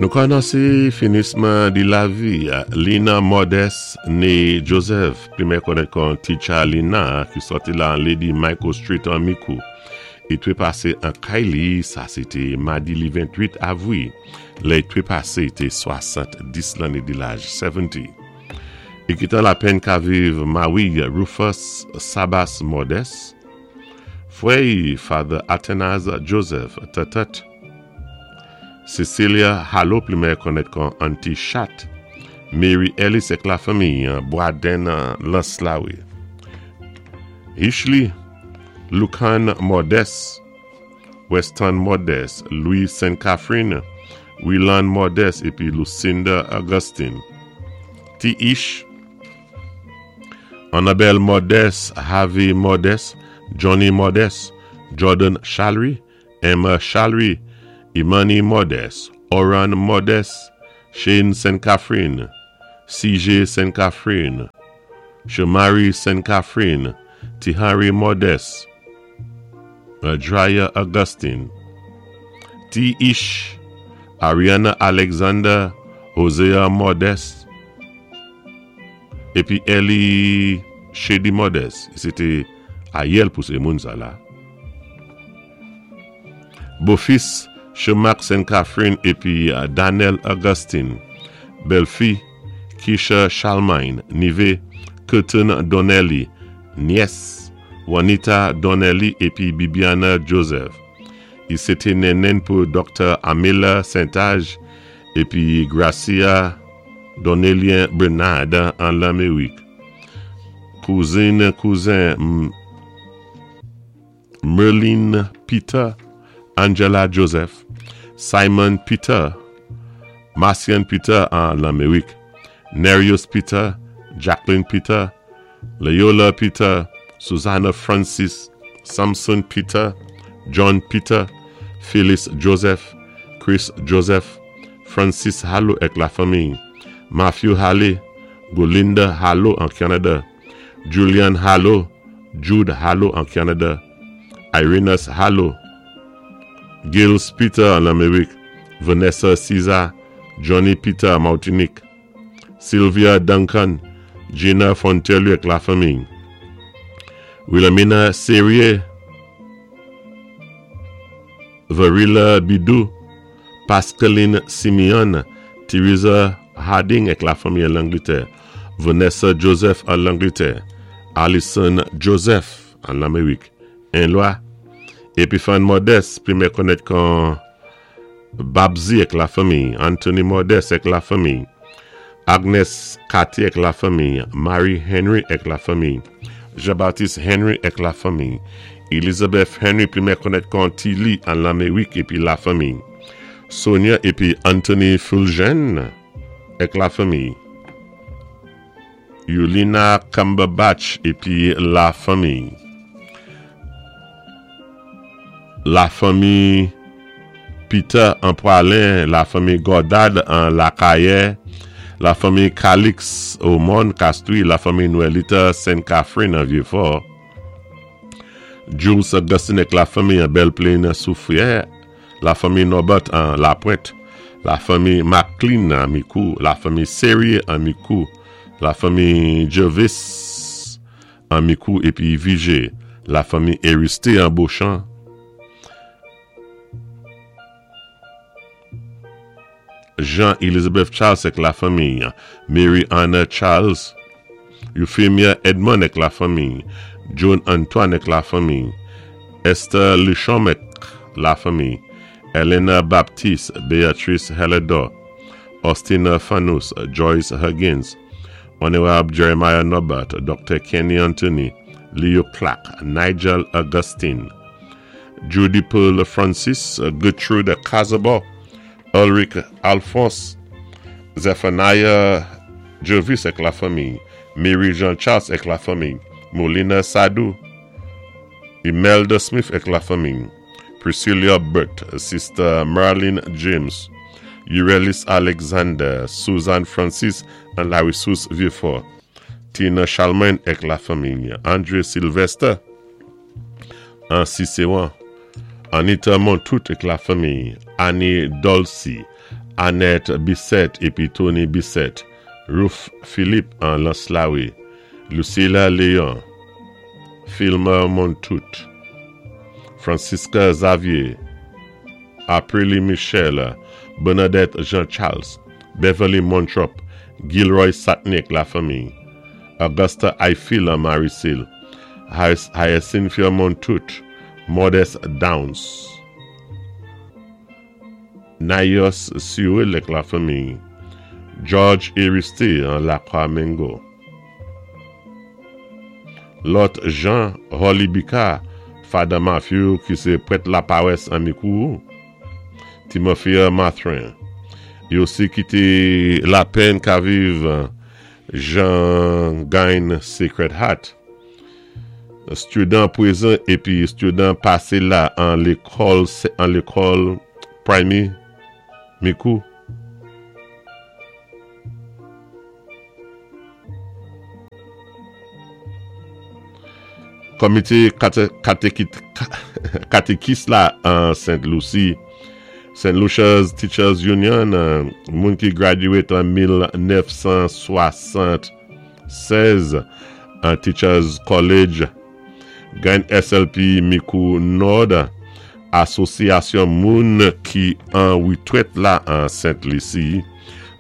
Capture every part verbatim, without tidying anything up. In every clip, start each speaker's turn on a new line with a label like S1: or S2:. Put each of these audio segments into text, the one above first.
S1: Nou ka anonsé finisman di lavi Lina Modeste né Joseph, pli mèyè konnèt kon Teacher Lina, ki sòti la Lady Michael Street an Micoud. I twépasé an kay li, sa sé té madi li ventwit avwi. Lè i twépasé té swasanndis lanné di laj, seventy. I kitan lapenn ka viv mawi Rufus Sabas Modeste, fwè Father Athanase Joseph, tatat Cecilia Hallo, pli mèyè konnèt kon Auntie Chat, Mary Ellis ek lafanmi, Boisden Lanslawi. Hishley, Lucan Modeste, Weston Modeste, Louis Saint Catherine, Willan Modeste, épi Lucinda Augustine. T. Ish, Annabelle Modeste, Harvey Modeste, Johnny Modeste, Jordan Chalry, Emma Chalry, Imani Modeste, Oran Modeste, Shane Saint Catherine, C J Saint Catherine, Shamari Saint Catherine, Tihari Modeste, Drya Augustine, T. Ish, Ariana Alexander, Hosea Modeste, épi Ellie Shady Modeste. Sé té ayèl pou sé moun sa la. Bofis Shemak Saint Catherine épi Daniel Augustine. Bèlfi Keisha Chalmine, nivé Curtin Donnelly, nyès Juanita Donnelly épi Bibiana Joseph. I sé té nennenn pou Doktè Amila Saint-Age épi Gracia Donnelly Bernard an Lamérik. Kouzin, kouzen Merlin Peter, Angela Joseph, Simon Peter, Marcian Peter an Lamérik, Nerius Peter, Jacqueline Peter, Loyola Peter, Susanna Francis, Samson Peter, John Peter, Phyllis Joseph, Chris Joseph, Francis Hallo ek lafanmi, Matthew Halley, Golinda Hallo an Canada, Julian Hallo, Jude Hallo an Canada, Irenas Hallo, Gilles Peter an Lamérik, Vanessa Caesar, Johnny Peter Martinique, Sylvia Duncan, Gina Fontelu ek lafanmi, Wilhelmina Serrier, Varila Bidou, Pascaline Simeon, Teresa Harding ek lafanmi an Langlétè, Vanessa Joseph an Langlétè, Alison Joseph an Lamérik, Enlwa, Epiphane Modeste, pli mèyè konnèt kon Babzi ek lafanmi, Anthony Modeste ek lafanmi, Agnes Cathy ek lafanmi, Marie Henry ek lafanmi, Jean-Baptiste Henry ek lafanmi, Elizabeth Henry, pli mèyè konnèt kon Tilly an Lamérik épi lafanmi, Sonia épi Anthony Fulgen ek lafanmi, Yulina Cumberbatch épi lafanmi. Lafanmi Peter an Poilin, lafanmi Godard an Lakaye, lafanmi Calix au Mont Castries, lafanmi Noelita Saint-Catherine an Vieux-Fort, Jules Augustine ek lafanmi an Belle Plaine Soufrière, lafanmi Norbert an La Pointe, lafanmi McLean an Micoud, lafanmi Serrier an Micoud, lafanmi Jervis an Micoud épi Vigé, lafanmi Eristé an Beauchamp, Jean-Elizabeth Charles ek lafanmi, Mary Anna Charles, Euphemia Edmond ek lafanmi, John Antoine ek lafanmi, Esther Lichom ek lafanmi, Elena Baptiste, Beatrice Helledor, Austina Fanous, Joyce Huggins, Honorable Jeremiah Norbert, Doctor Kenny Anthony, Leo Clark, Nigel Augustine, Judy Pearl Francis, Gertrude Casabo, Ulrich Alphonse, Zephaniah Jervis ek lafanmi, Mary Jean Charles ek lafanmi, Molina Sadou, Imelda Smith ek lafanmi, Priscilla Burt, Sister Marlene James, Urelis Alexander, Susan Francis an La Ressource Vieux-Fort, Tina Chalmain ek lafanmi, Andre Sylvester an Cicéron, Anita Montout ek lafanmi, Annie Dolcy, Annette Bissett épi Tony Bissett, Ruth Philippe an Lanslawi, Lucilla Léon, Filmer Montout, Francisca Xavier, Aprili Michel, Bernadette Jean-Charles, Beverly Montrop, Gilroy Satnik, la fanmi, Augusta Eiffel an Marisil, Hyacinthia Montout, Modest Downs, Nayos Sewell ak la fanmi, George Aristide an Lakwa Mengo. Lòt Jean Holly Bika, Father Matthew ki sé prèt la pawès an Mikou, Timothy Mathrin. Yo osi kité Lapèn ka viv Jean Gagne Sacred Heart. Student pwézan épi student pasé la an lékòl an lékòl Primary Mikou. Komité katékis la an Saint Lucie, Saint Lucia's Teachers Union, moun ki graduate an mil nèf san swasann-sèz an Teachers College, gen S L P Mikou Nord, Asosyasyon moun ki an witwèt la an Saint Lucie,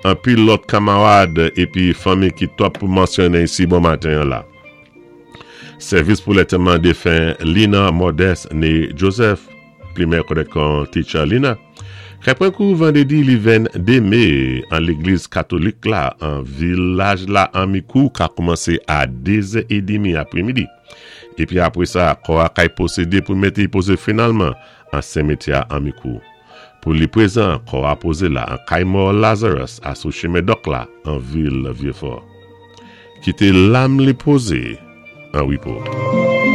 S1: anpil lòt kanmarad épi fanmi ki twòp pou mansyoné isi bon maten la. Sèvis pou lantèman défen Lina Modeste né Joseph, pli mèyè konnèt kon Teacher Lina. Kay pran kou vandédi li venndé mé an légliz katolik la an vilaj la an Mikou ka koumansé a dé zè édmi apwémidi. Épi apwé sa, kò a kay pwosédé pou mété pozé finalman an simétyè an Mikou. Pou li pwézan, kò a pozé la an kay mò Lazarus a sou chimen Dòk la an vil Vieux-Fort. Kité lam li pozé an wépo.